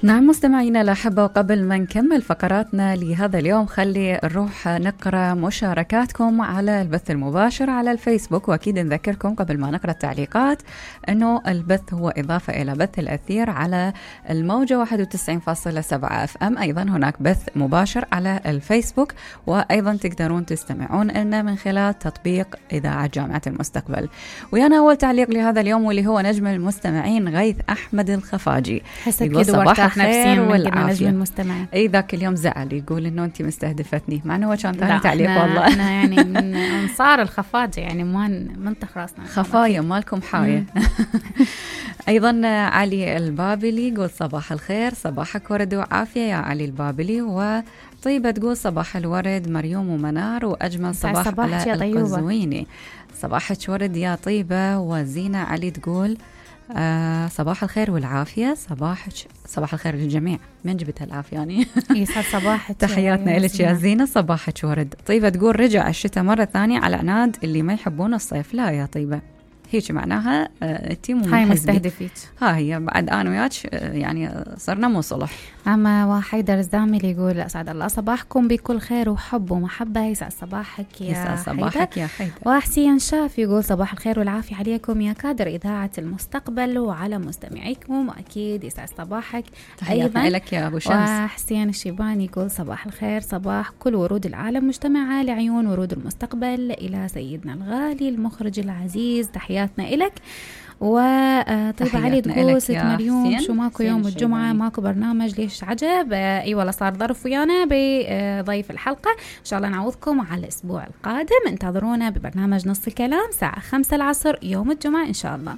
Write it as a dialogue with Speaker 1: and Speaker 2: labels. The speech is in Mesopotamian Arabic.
Speaker 1: نعم مستمعينا الأحبة، وقبل ما نكمل فقراتنا لهذا اليوم خلي نروح نقرأ مشاركاتكم على البث المباشر على الفيسبوك. وأكيد نذكركم قبل ما نقرأ التعليقات أنه البث هو إضافة إلى بث الأثير على الموجة 91.7 FM. أيضا هناك بث مباشر على الفيسبوك، وأيضا تقدرون تستمعون لنا من خلال تطبيق إذاعة جامعة المستقبل. ويانا أول تعليق لهذا اليوم واللي هو نجم المستمعين غيث أحمد الخفاجي، يقول صباح الخير والعافية.
Speaker 2: المستمعين
Speaker 1: اي ذاك اليوم زعل، يقول انه انت مستهدفتني، مع انه هو كان ثاني تعليق. والله
Speaker 2: احنا يعني من انصار الخفاجة، يعني ما منطق راسنا
Speaker 1: خفايا مالكم حاية. ايضا علي البابلي يقول صباح الخير، صباحك ورد وعافية يا علي البابلي. وطيبة تقول صباح الورد مريوم ومنار، واجمل صباح على القزويني. صباحك ورد يا طيبة. وزينة علي تقول صباح الخير والعافية. صباح الخير للجميع، من جبت هالعافية يعني.
Speaker 2: يسعد صباحك.
Speaker 1: تحياتنا لك يا زينة، صباحك ورد. طيبة تقول رجع الشتاء مرة ثانية على عناد اللي ما يحبون الصيف. لا يا طيبة، هيك معناها انتي مو
Speaker 2: هاي مستهدفيك.
Speaker 1: ها هي بعد انا وياك يعني صرنا مو صلح.
Speaker 2: اما وحيدر الزامل يقول اسعد الله صباحكم بكل خير وحب ومحبه. يسعد صباحك يا
Speaker 1: يسعد صباحك يا حيدر.
Speaker 2: وحسين شاف يقول صباح الخير والعافيه عليكم يا كادر اذاعه المستقبل وعلى مستمعيكم، واكيد يسعد صباحك
Speaker 1: ايضا لك يا ابو شمس.
Speaker 2: وحسين الشيباني يقول صباح الخير، صباح كل ورود العالم مجتمعه لعيون ورود المستقبل الى سيدنا الغالي المخرج العزيز، تحياتنا إلك. وطيب علي تقول ست مريوم شو ماكو يوم الجمعة ماكو برنامج ليش عجب؟ اي والله صار ظرف ويانا بضيف الحلقة، ان شاء الله نعوضكم على الاسبوع القادم. انتظرونا ببرنامج نص الكلام ساعة 5 العصر يوم الجمعة ان شاء الله.